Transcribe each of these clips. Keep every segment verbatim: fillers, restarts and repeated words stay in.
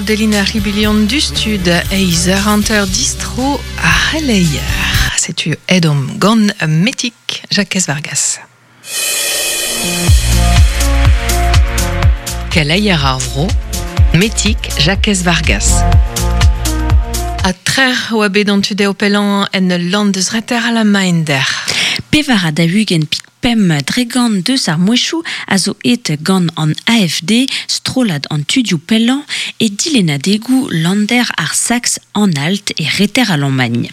Delina Ribilion du stud eiz hanter distro a c'heleier. Setu edom gant metik Jacques Vargas. Keleier ar vro, metik Jacques Vargas. A trer oa bet an tudeo pelan en land deus reter a la mainder. Pevar a da ugent pik pem dregan deus ar mouechou a zo et gant an A F D, strolad an tudioù pellañ e dilenadegou lander ar Sax an alt e reter Allemagne.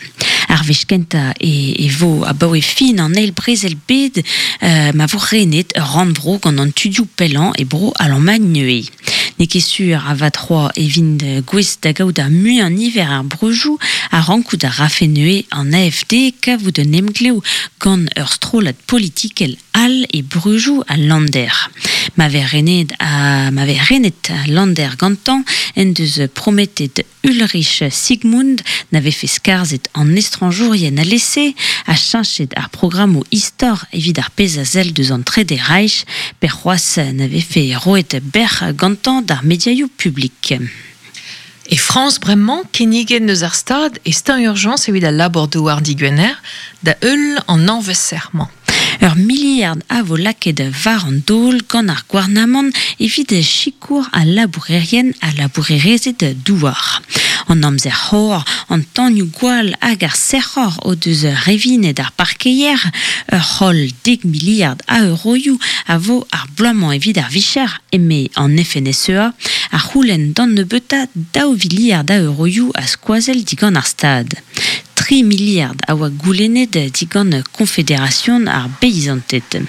Ar wech kentañ e, e vo abaoe fin an eil brezel bed euh, ma vo renet ur rannvro gant an tudioù pellañ e bro Allemagne neuze. N'eo ket sur a vat c'hoazh e vint gwez da gaout ar muiañ niver ar breujoù a rankout ar rafe neuze an A F D kavout un emglev gant ur strollad politikel all e breujoù a Lander. Ma vez renet a, ma vez renet a Lander gantañ en deus prometet Ulrich Sigmund n'avait fait skarzhet an estranjourien a lese a cheñchet ar programmoù istor evit ar pezh a sell deus an Trede Reich per c'hoazh n'avait fait roet berr gantañ d'ar mediaioù publik. E France bremañ kinniget eus ar stad e stan urgence evit al labor douar digwener da eul an anvez-sermañ. Ur miliard a vo lakaet war an daol gant ar gouarnamant evit sikour al labourerien ha labourerezed douar. An amzer c'hor, an tanioù gwall hag ar sec'hor o deus revinet ar parkeier, ur c'holl dek miliard a euroioù a vo ar bloaz-mañ evit ar vicher eme an F N S E A, ar c'houlenn d'an nebeutañ daou viliard a euroioù a skoazell digant ar stad. Tri miliard a oa goulennet digant Confédération ar beizanted.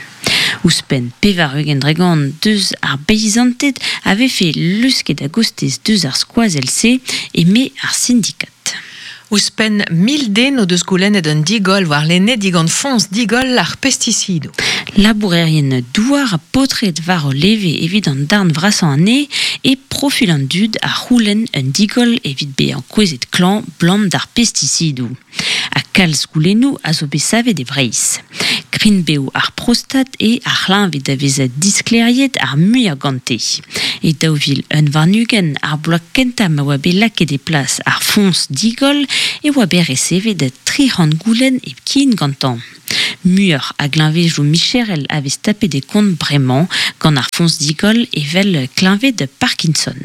Ouzhpenn pevar ugent dregant deus ar beizanted avait fait lusket a gostez deus ar skoazell-se eme ar syndikat. Ouzhpenn mil den o deus goulennet un digol war lenne digant foñs digol ar pesticidoù. Labourerien douar a paotred war o leve evit an darn vrasañ anezhe e profil an dud a c'houlenn un digol evit bezañ kouezhet klañv blam d'ar pesticidoù. Ha kalz goulennoù a zo bet savet e Breizh. Krign-bev ar prostat e ar c'hleñved a vez disklêriet ar muiañ gante. E daou vil un warn-ugent ar bloaz kentañ ma oa bet lakaet e plas ar foñs digol e oa bet resevet tri c'hant goulenn hepken gantañ. Muioc'h a gleñvedoù micherel a vez tapet e kont bremañ gant ar foñs digol evel kleñved Parkinson.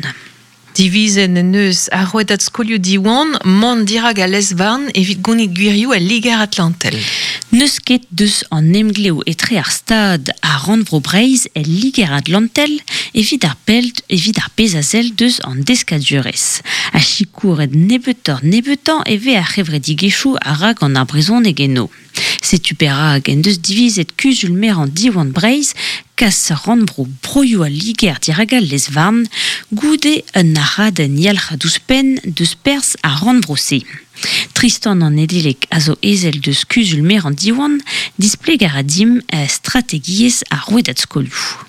Divizen en eus ar rouedad skolioù Diwan mont dirak a lez-varn evit gonit gwirioù al Liger Atlantel. N'eus ket deus an emglev etre ar stad ha rannvro Breizh el Liger Atlantel evit ar pelt evit ar pezh a sell deus an deskadurezh. Ha sikouret nebeutoc'h nebeutañ e vez ar c'hevredigezhioù a ra gant ar brezhoneg eno. Setu perak en deus divizet kuzul-merañ Diwan Breizh kas rannvro broioù al Liger dirak al lez-varn goude un aradenn yalc'had ouzhpenn deus perzh ar rannvro-se. Tristan an Nedeleg a zo ezel deus kuzul-merañ Diwan displeg a ra dimp strategiezh ar rouedad skolioù.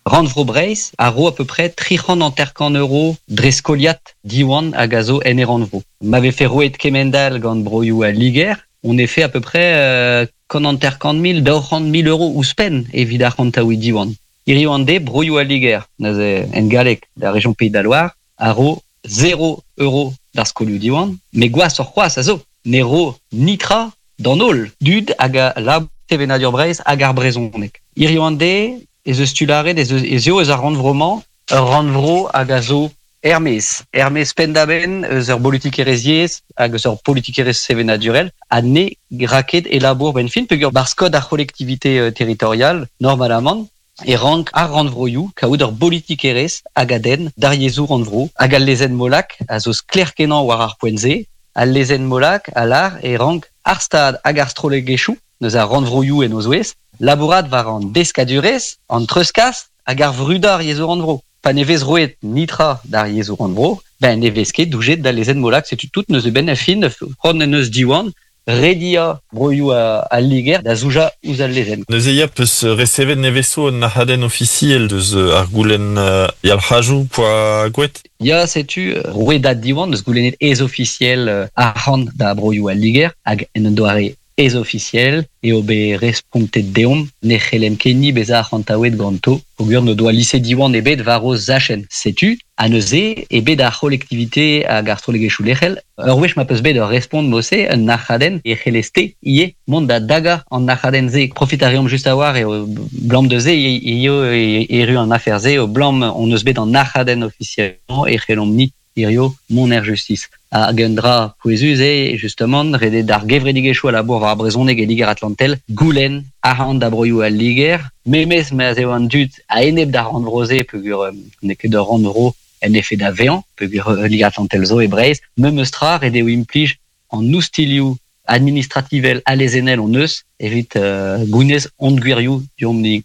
Rannvro Breizh a ro à peu près tri c'hant hanter-kant euro dre skoliad Diwan hag a zo en e rannvro. Ma vefe roet kemendal gant broioù al Liger, on est fait à peu près euh, kant hanter-kant mil, daou c'hant mil euros ouzhpenn evit ar c'hantaoù Diwan. Hiziv an deiz, broioù al Liger, neuze en galleg, da région Pays de la Loire, a ro zéro euro d'ar skolioù Diwan, met gwashoc'h c'hoazh a zo, ne ro nitra d'an holl dud hag a lab sevenadur Breizh hag ar brezhoneg. Hiziv an deiz, ez eus tularet, ez eus, ez eo eus ar rannvro-mañ, ur rannvro hag a zo Hermès. Hermès pendaben eus ur politikerezh hag eus ur politikerezh sevenadurel ha ne raket e labour ben fin peogwir bar skod ar collectivité euh, territoriale normalement e rank ar rannvroioù kaout ur politikerezh hag a denn d'ar yezhoù rannvro hag al lezenn Molac a zo sklaer-kenañ war ar poent-se al lezenn Molac a lar e rank ar stad hag ar strollegezhioù neus ar rannvroioù en o zouez labourat war an deskadurezh an treuzkas hag ar vrudañ ar yezhoù rannvro. Pa ne vez roet nitra d'ar yezhoù rannvro, ben ne vez ket doujet da lezenn Molac, setu tout neus e ben a fin, c'hoant en eus Diwan, redia broioù a, a Liger da zouja ouzh al lezenn. Neuze ya peus resevet neveso un ahadenn ofisiel deus ar goulenn uh, yalc'hajoù poa gwet? Ya, setu rouedad Diwan deus goulennet ez ofisiel uh, arc'hant da broioù al Liger hag en un doare ez officiel e obe respontet deomp ne c'hellem kenni beza arc'hantaouet ganto peogwir ne doa lise Diwan ebet war o zachenn. Setu, a neuze ebet ar c'hollektivite hag ar strollegezhioù lec'hel, ur wech ma peus bet ur respont mose un nac'hadenn e c'hellez-te ivez mont da daga an nac'hadenn-se. Profit a reomp just a-war eo blam de se eo erru an afer-se o blam on eus bet an nac'hadenn ofisiellement e c'hellomp ni hirio mont er justice. Hag un dra pouezus eo, justement, redet d'ar gevredigezhioù a labour war ar brezhoneg e Liger Atlantel, goulenn arc'hant da broioù al Liger, memes ma'z eo an dud a-enep d'ar rannvro-se peogwir n'eo ket ur rannvro en efed da vezañ, peogwir Liger Atlantel zo e Breizh, memes tra ret eo implij an oustilioù administrativel ha lezennel hon eus evit euh, gounez hon gwirioù deomp-ni.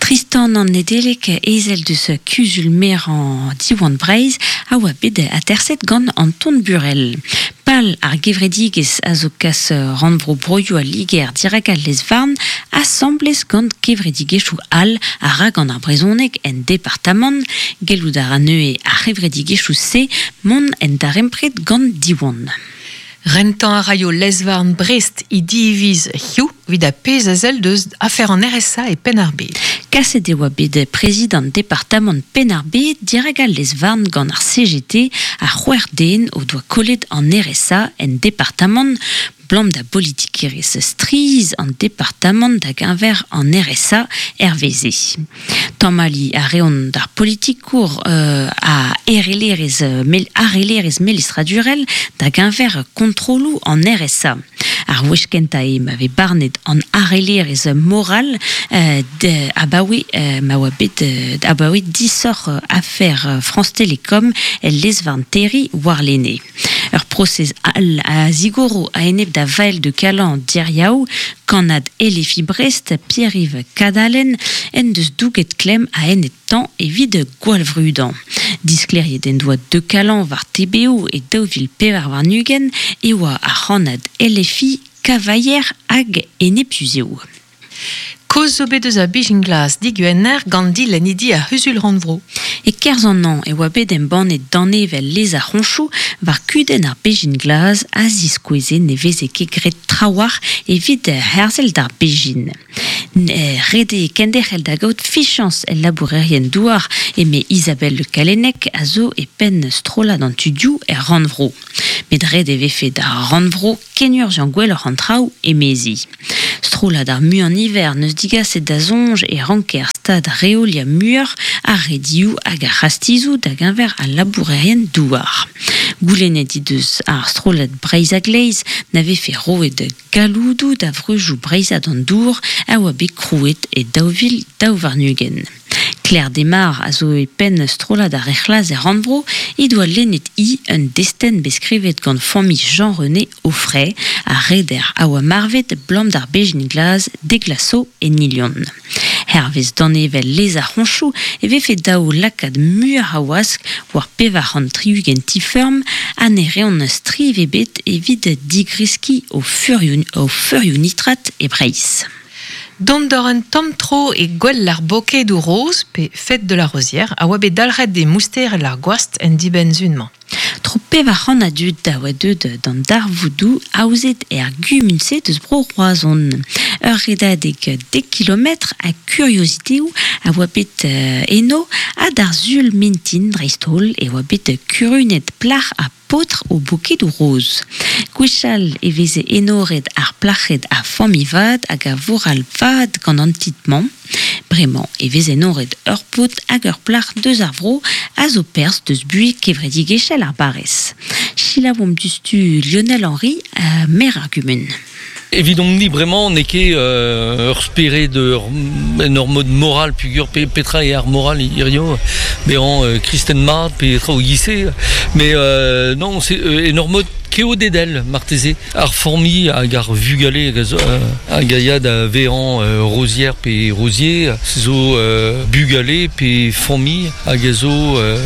Tristan an Nedeleg ezel deus kuzul merañ Diwan Breizh a oa bet aterset gant Anton Burel. Pal ar gevredigezh a zo kas rannvro broioù al Liger dirak al lez-varn asambles gant kevredigezhioù all a ra gant ar brezhoneg en departamant gellout a ra neuze ar c'hevredigezhioù-se mont en darempred gant Diwan. Rentañ a raio lez-varn Brest i diviz hiziv evit ar pezh a sell deus afer an R S A e Penn-ar-Bed. Kaset e oa bet prezidant departamant Penn-ar-Bed dirak al lez-varn gant ar C G T a c'hwec'h den o doa kollet an R S A en departamant blam da politikerezh striz an departamant da geñver an R S A R V Z. Tamalli a reont d'ar politikour euh, a erelerezh mel, arelerezh melestradurel da geñver kontroloù an R S A. Ar wech kentañ eo ma vez barnet an arelerezh moral euh, de, abaoe euh, ma oa bet euh, abaoe disoc'h euh, afer euh, France Télécom el lez-varn Terry warlene. Ur prosez al a zigoro a-enep da Vael de Calan diriaou, kannad L F I Brest, Pierre-Yves Cadalen, en deus douget klemm a-enep tañ evit gwallvrudañ. Disklêriet en doa de Calan war T B O e daou vil pevar warn-ugent e oa ar c'hannad L F I Cavaillère hag enepuzeo. Koz zo bet eus a Beijing Glass digwener gant dilennidi ar c'huzul rannvro. E kerzh an an e oa bet embannet danevel lez ar c'honchoù war kudenn ar Beijing Glass a ziskoueze ne veze ket graet trawalc'h evit herzel d'ar Beijing. Ret eo kenderc'hel da gaout fichañs el labourerien douar eme Isabelle Le Callennec a zo e penn strollad an tudioù er rannvro. Met ret e vefe d'ar rannvro kenurzhiañ gwelloc'h an traoù emezi. Strollad ar muiañ niver n'eus digaset da soñj e ranker stad reoliañ muioc'h ar redioù hag ar c'hastizoù da geñver al labourerien douar. Goulennet he deus ar strollad Breizh a-gleiz na vefe roet galloudoù da vreujoù breizhat an dour a oa bet krouet e daou vil daou warn-ugent. Claire Desmar a zo e penn strollad ar rec'hlaz er rannvro he doa lennet hi un destenn bet skrivet gant familh Jean-René Auffray a reder a oa marvet blam d'ar Beijing Glass deglaso e Nilion. Hervez danevel lez ar c'honchoù e vefe daou lakaat muioc'h a wask war pevar c'hant tri-ugent ti-feurm ha ne reont striv ebet evit digreskiñ o feurioù, o feurioù nitrat e Breizh. Dont d'or un tamm tro e gwell ar bokedoù roz pe fête de la rosière a oa bet dalc'het de mouster ar gwast en dibenn-zun-mañ. Tro pevar c'hant a dud da oa deut d'an darvoudoù aozet er gumun-se deus bro Roazhon. Ur redadeg dek kilometr a kurioziteoù a oa bet eno ha d'ar sul mintin dreist-holl e oa bet kurunet plac'h ha paotr o bokedoù roz. Gwechall e veze enoret ar plac'hed a familh vat hag a voral vat gant an titl-mañ. Bremañ e vez enoret ur paotr hag ur plac'h deus ar vro a zo perzh deus buhez kevredigezhel ar barrez. Selaouomp diouzhtu Lionel Henry, euh, maire ar gumun. Evidomp-ni bremañ n'eo ket euh, ur spered ur, en ur mod moral pugur pe, petra e ar moral hirio bezañ euh, kristen mat petra o gise mais euh, non c'est euh, en ur mod keodedel marteze ar formi hag ar vugale hag a zo, euh, hag a ya da vezañ euh, rosière pe rosier zo euh, bugale pe formi hag a zo euh,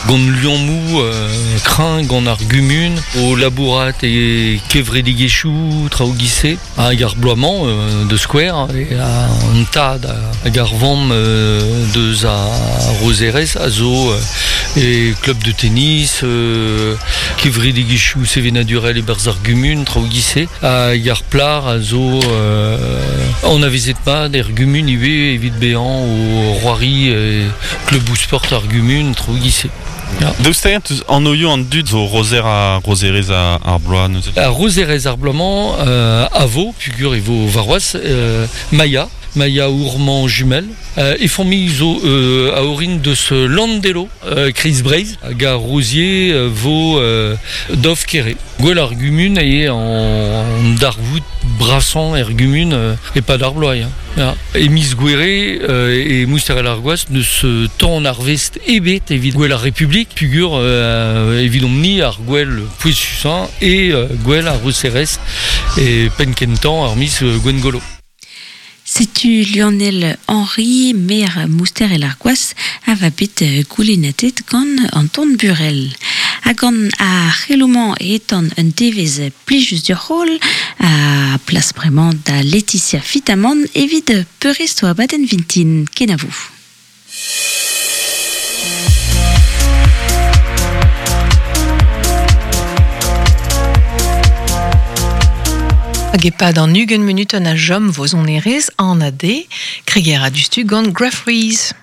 gant liammoù euh, kreñv gant ar gumun o labourat e kevredigezhioù traoù gise hag ar bloaz-mañ euh, de square e a an tad hag ar vamm euh, deus a rozerez a zo euh, e club de tennis euh, kevredigezhioù sevenadurel e berz ar gumun, traoù gise, hag ar plar a zo euh, an avezet mat er gumun ivez evit bezañ o roari e klubou sport ar gumun, traoù gise. Ya. Deus teint an oio an dud zo rozer a rozerez a ar bloaz neuze. A rozerez ar bloaz-mañ euh, a vo, pugur e vo varroaz, euh, Maya, Maya Ourmand jumel, euh, e famille zo euh, a orin deus Landelo, euh, Kreiz Breizh, hag ar Rosier euh, vo euh, Dov Kere. Gwell ar gumun e an, an darvoud brasan er gumun euh, e pa d'ar bloaz. Hein. Ya. E miz gwere euh, e mousterel ar gwaz neus euh, tan ar vest ebet evit gwell ar Republik, pugur euh, evit omni ar gwell pouezusañ e euh, gwell ar roserez e penkentan ar miz euh, Gwengolo. Setu Lionel Henry, maire Mouster el Argoas, a va bet goulennatet gant Anton Burel. Ha gant ar c'helomañ etan un devez plijus dur c'hol, a plas bremañ da Laetitia Fitamant evit peurrest oa baden vintin. Kenavo. Hag epad an ugent minuten a jom vo zon erez an a de, kreger a dustu gant Grafreeze.